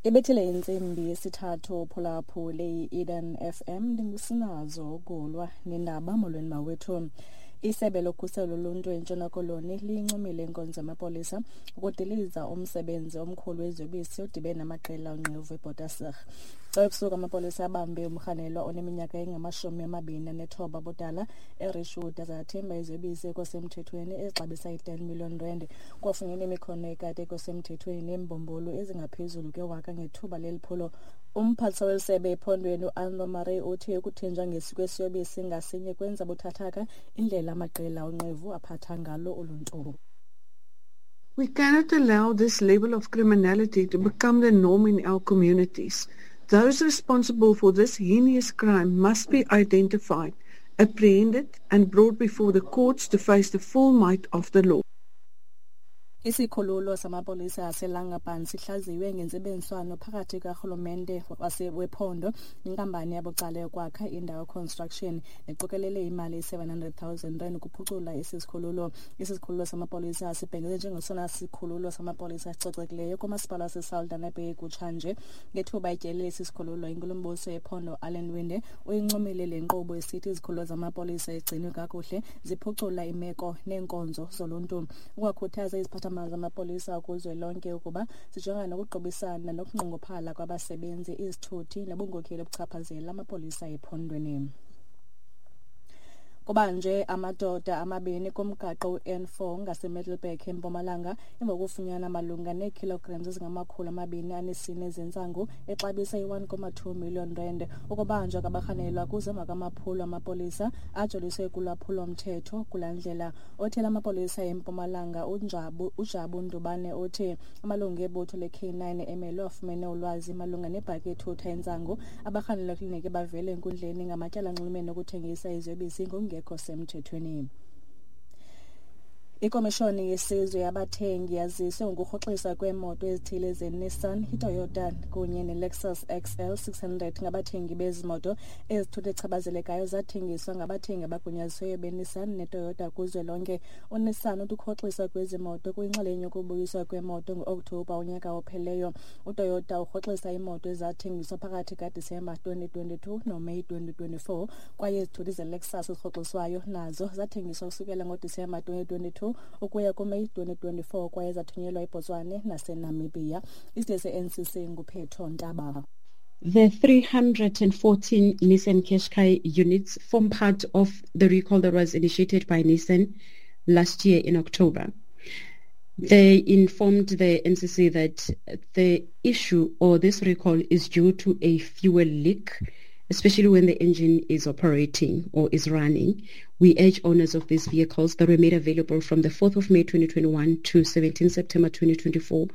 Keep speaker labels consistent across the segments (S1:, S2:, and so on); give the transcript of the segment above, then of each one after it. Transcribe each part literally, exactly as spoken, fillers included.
S1: Ibethile intsimbi yesithathu phulaphule i-Eden F M ndingusinazo Gulwa nendaba. Molweni mawethu. Isebe lokhuselo loluntu eNtshona Koloni liyincomile inkonzo yamapolisa ukudiliza umsebenzi omkhulu weziyobisi odibene namaqela onqevu eBotasig. Xa ebusuku amapolisa abambe umrhanelwa oneminyaka engamashumi amabini anethoba budala eRishwood azathemba iziyobisi ekwasemthethweni ezixabisa i-ten million rand. Kwafunyenwe imikhono ekade ekwasemthethweni neembumbulu ezingaphezulu kwewaka ngethuba leli phulo. Umphathiswa wesebe ephondweni uAnro Murray uthi ukuthinjwa kwesiyobisi ngasinye kwenza buthathaka indlela amaqela onqevu aphatha ngalo uluntu.
S2: We cannot allow this level of criminality to become the norm in our communities. Those responsible for this heinous crime must be identified, apprehended and brought before the courts to face the full might of the law.
S1: Isikhululo samapolisa aseLangapan sihlaziwe ngentsebenziswano phakathi karhulumente wephondo nenkampani yabucala yokwakha indawo construction neqokelele imali seven hundred thousand rand ukuphucula esi sikhululo. Esi sikhululo samapolisa sibhengeze njengesona sikhululo samapolisa esicocekileyo kumasipala waseSaldanha Bay kutshanje. Ngethuba ityelele esi sikhululo, inkulumbuso yephondo Alan Winde uyincomile le nkqubo esithi izikhululo zamapolisa egcinwe kakuhle ziphucula imeko neenkonzo zoluntu. Ukwakhuthaza iziphathamandla zamapolisa kuzwelonke ukuba zijongane nokuqubisana nokunqongophala kwabasebenzi, izithuthi nobunkokheli obuchaphazela amapolisa ephondweni. Kubanje amadoda amabini kumgaqo u-N four ngaseMiddelburg eMpumalanga emva kokufunyanwa malunga neekilograms ezingamakhulu amabini anesine zentsangu exabisa i-one comma two million rand. Ukubanjwa kwabarhanelwa kuze emva kwamaphulo amapolisa ajoliswe kulwaphulo-mthetho kulaa ndlela. Othela amapolisa eMpumalanga uNjabu uJabu Ndubane uthi amalungu ebutho le-K nine emelwe afumene ulwazi malunga nebhaki ethutha intsangu. Abarhanelwa kliniki bavele enkundleni ngamatyala anxulumene nokuthengisa iziyobisi ngokungekho semthethweni. Ikomishoni yesizwe yabathengi yaziswe ngokurhoxiswa kweemoto ezithile zeNissan, iToyota kunye neLexus X L six hundred ngabathengi bezi moto. Ezithuthi echabazelekayo zathengiswa ngabathengi abagunyazisiweyo beNissan neToyota kuzwelonke. UNissan uthi ukurhoxiswa kwezi moto kuyinxalenye yokubuyiswa kweemoto ngo-Okthobha unyaka opheleyo. UToyota urhoxisa iimoto ezathengiswa phakathi kaDisemba twenty twenty-two noMeyi twenty twenty-four, kwaye izithuthi zeLexus ezirhoxiswayo nazo zathengiswa kusukela ngoDisemba twenty twenty-two ukuya kuMeyi twenty twenty-four kwaye zathunyelwa eBotswana naseNamibia. Isitishi se-N C C nguPhetho Ntaba.
S3: The three hundred and fourteen Nissan Qashqai units form part of the recall that was initiated by Nissan last year in October. They informed the N C C that the issue or this recall is due to a fuel leak, especially when the engine is operating or is running. We urge owners of these vehicles that were made available from the fourth of May twenty twenty-one to seventeenth September twenty twenty-four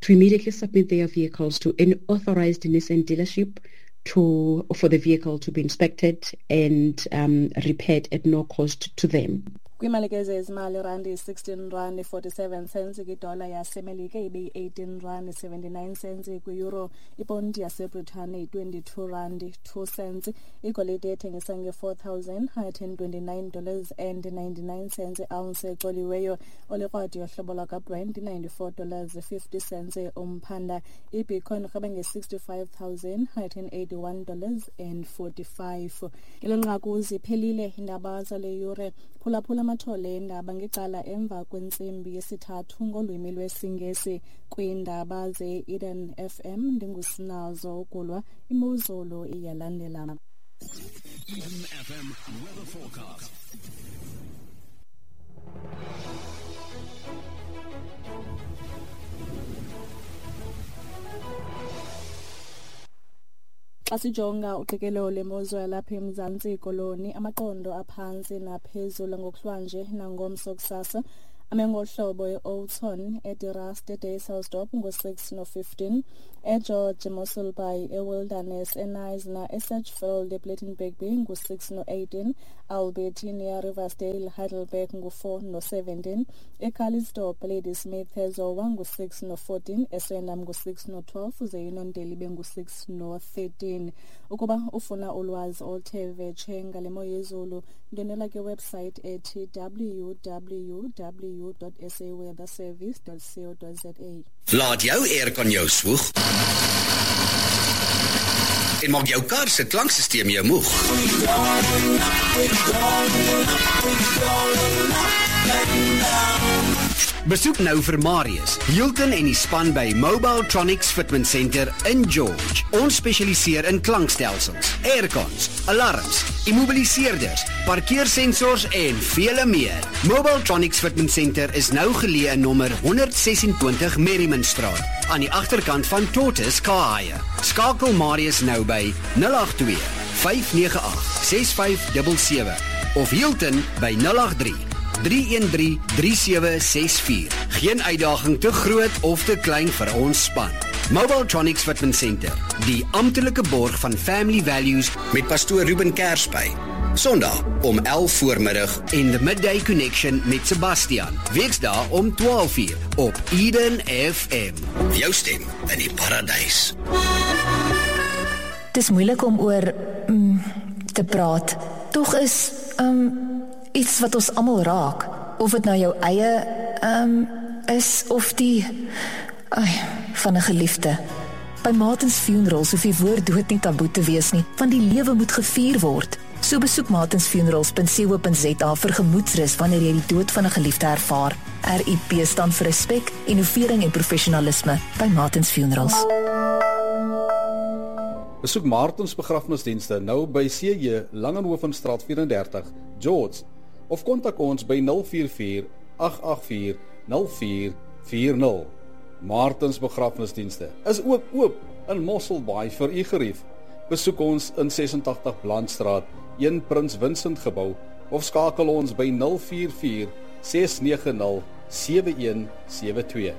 S3: to immediately submit their vehicles to an authorized Nissan dealership to for the vehicle to be inspected and um, repaired at no cost to them.
S1: Kwimalike zezimali, randi sixteen rand forty-seven cents kwidola yaseMelika ibe yi-eighteen rand seventy-nine cents kwi-euro, iponti yaseBritane yi-twenty-two rand two cents, igolide ethengiswa nge-four thousand hundred and twenty-nine dollars and ninety-nine cents ounce ecoliweyo, olikrwadi yohlobo lwakwaBrent ninety-four dollars fifty cents umphanda, iBitcoin irhweba nge-sixty-five thousand hundred and eighty-one dollars and forty-five. Ngelo nqaku ziphelile iindaba zale yure. Phulaphula amathole endaba ngecala emva kwentsimbi yesithathu ngolwimi lwesiNgesi. Kwiindaba ze-Eden F M ndingusinazo Ugulwa, imozulu iyalandela.
S4: Eden F M weather forecast.
S1: Xa sijonga uqikelelo lwemozulu yalapha eMzantsi Koloni, amaqondo aphantsi naphezulu ngokuhlwanje nangomso kusasa ame ngohlobo e-Oudtshoorn, eDe-Rust, eDysselsdorp ngo-six no-fifteen, eGeorge, eMossel Bay, eWilderness, eKnysna, eSedgefield, ePlettenberg Bay ngo-six no-eighteen, Albertinia, Riversdale, Heidelberg ngo-four no-seventeen, eCalitzdorp, Ladysmith, eZowa ngo-six no-fourteen, eSwendam ngo-six no-twelve, uze iNondeli ibe ngu-six no-thirteen. Ukuba ufuna ulwazi oluthe vetshe ngale mo yezulu, ndwendwela kwiwebsite ethi w w w dot s a weather service dot co dot z a.
S5: Laat jou aircon jou swoeg. En maak jou kar se klankstelsel jou moeg. Besoek nou vir Marius, Hilton en die span by Mobiletronics Fitment Center in George. Ons spesialiseer in klankstelsels, aircons, alarms, immobiliseerders, parkeersensors en vele meer. Mobiletronics Fitment Center is nou geleë in nommer honderd ses-en-twintig Merriman Straat, aan die agterkant van Tortoise Car Hire. Skakel Marius nou by nul agt twee, vyf nege agt, ses vyf sewe sewe of Hilton by nul agt drie, drie een drie, drie sewe ses vier. Geen uitdaging te groot of te klein vir ons span. Mobiletronics Fitment Center, die amptelike borg van Family Values met pastoor Ruben Kersby. Sondag om elf voormiddag en The Midday Connection met Sebastian. Weksdae om twaalf uur op Eden F M. Jou stem in die paradys.
S6: Dis moeilik om oor mm, te praat. Tog is um, iets wat ons almal raak. Of dit nou jou eie um, is of die ai, van 'n geliefde. By Martins Funerals hoef die woord dood nie taboe te wees nie, want die lewe moet gevier word. So besoek martins funerals punt co punt za vir gemoedsrus wanneer jy die dood van 'n geliefde ervaar. R I P staan vir respek, innovering en professionalisme by Martins Funerals.
S7: Besoek Martins Begrafnisdienste nou by C J Langenhovenstraat vyf-en-dertig, George, of kontak ons by nul vier vier, agt agt vier, nul vier vier nul. Martins Begrafnisdienste is ook oop in Mosselbaai vir u gerief. Besoek ons in ses-en-tagtig Blandstraat, een Prins Vincent gebou, of skakel ons by nul vier vier, ses nege nul, sewe een sewe twee.